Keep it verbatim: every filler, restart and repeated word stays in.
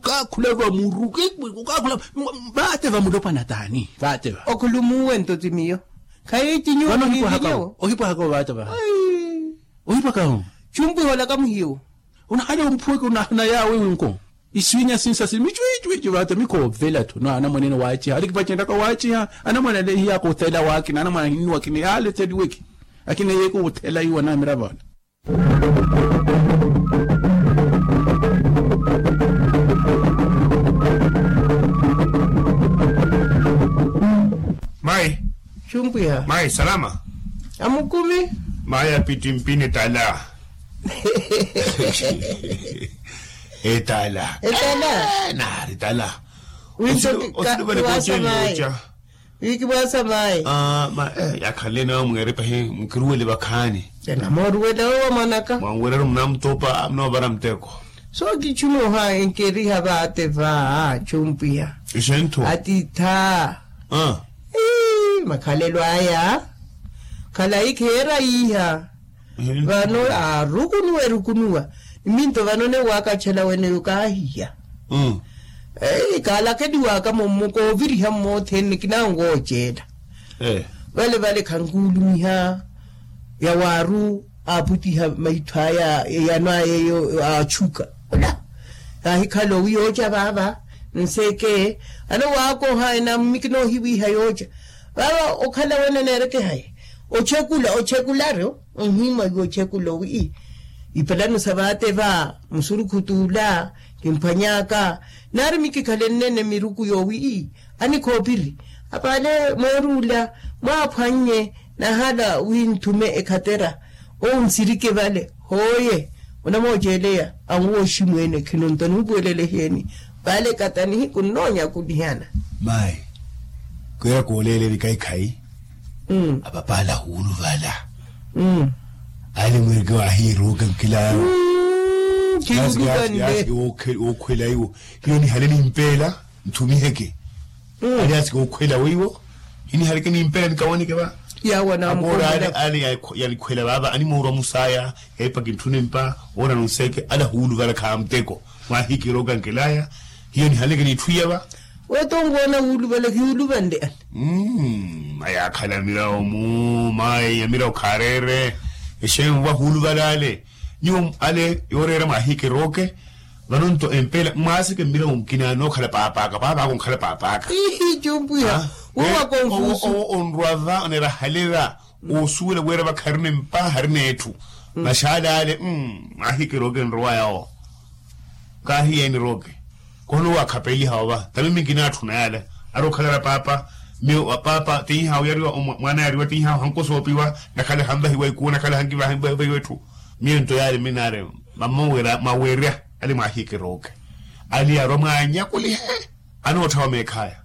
okaakhula vamuru kukaakhula. Vaate vamulopwana taani vaate va okhulumuwe nto ti miyo. Khayi ti nyuwo vano ohipwahaka ohipwahaka ovaate vaha. Ohipwaka ho. Chumpwiha olaka muhiwo. Onahale omphuweke onahana yaawe winko. Iswinya sinsa sili michwichwichi vaate mikhoovela tho no anamwanene waaciha alikipacenlaka waaciha. Anamwanene hiyaka othela waakina anamwana ahinnuwa akina yaaleteliweke. Akina yeeke othela iwo anaamira vaana. Mayi. Chumpwiha mayi salama. Amukumi. Mayi apittimpini tala. Etala etala. Naari tala. Wiiso kiwasa mayi. Wiikiwasa mayi. Yakhanle nawe mweeripahi mukiruwele vakhaani. Enamooruwela owo mwanaka mwanweryaru munamutupa munoovara muteko. So kichumoha enkeriha vaate va chumpwiha. Ixentho atiitha. Makhalelo aya khalayi kheera yiiha. Vano aarukunuwa erukunuwa. Niminto vano newaakatthela weneyo kaahiya. Kaalakeliwaka mummo kooviriha mmothene nikinango ooceela. Vale vale khankuulumiha yawaaru aaputiha maitho aya eyano aya eyo aatchuka. Ola, yaahikhala owi yooca vaava nseke. Alo waakoha enammiki noohiwiiha yooca vaava okhala wene neerekehaye. Ochekula ochekularu onhimwa iwe ochekula owi ipalano sa vaate va musurukhutu ola kimphwany'aka. Naari mikikhala ennene miruku yoowi anikhoopiri. Apaale mooruula mwaaphwannye nahala winthume ekhatera. Owu nsirike vale hooye. Onamooceeleya anwooxi mweene khinonto anuupuwelela eheeni. Vale kata nihiku nnoonya kulihana. Mayi, kwira kooleela evikhaikhayi. Apapaala ahuuluvala. Ale mweereke waahiiruuka nkilaayo. Yaasi yaasi yaasi. Wookhwela iwo hiyo nihale nimpeela nthumiheke. Ali yaasi kookhwela weiwo hinihaleke nimpeela nikawanike va. Akoora ale ale yalikhwela vaava animoorwa musaya. Epa kintthune mpa woona nunseeke ale ahuuluvala khaamuteko. Mwaahikirooka nkelaya hiyo nihaleke niitthu iyava. Weetonkoona wuuluvala hiyuuluvanle ale. Mmm ayaakhala mirawo mu mayi ya mirawo khaareere. Exeeni wahuuluvala ale nyuwo ale yooreera mwaahikirooke. Vano nto empeela mwaaseke mmilawo mukina nookhala paap'aka paap'aka onkhala paap'aka. Ihi cumpwiha. Wo wakonfusu owo onrwa va oneera hale va. Oosuwela wira va kharina empa harina etthu. Maxaala ale mwaahikirooke nrowa yawo. Kaahiyeeni rooke. Kono owo akhapeliha ova tami minkinaatthuna yale. Ari okhalara paapa miyo paapa tinhihaawo yariwa mwaana yariwa tinhihaawo hankosoopiwa. Nakhale hanvahiwa ikuu nakhale hankivahiwa etthu. Miyo nto yaale mminaare mama mwawerya ale mwaahikirooke. Ale yaarwa mwaanyakulihe anootthawa meekhaya.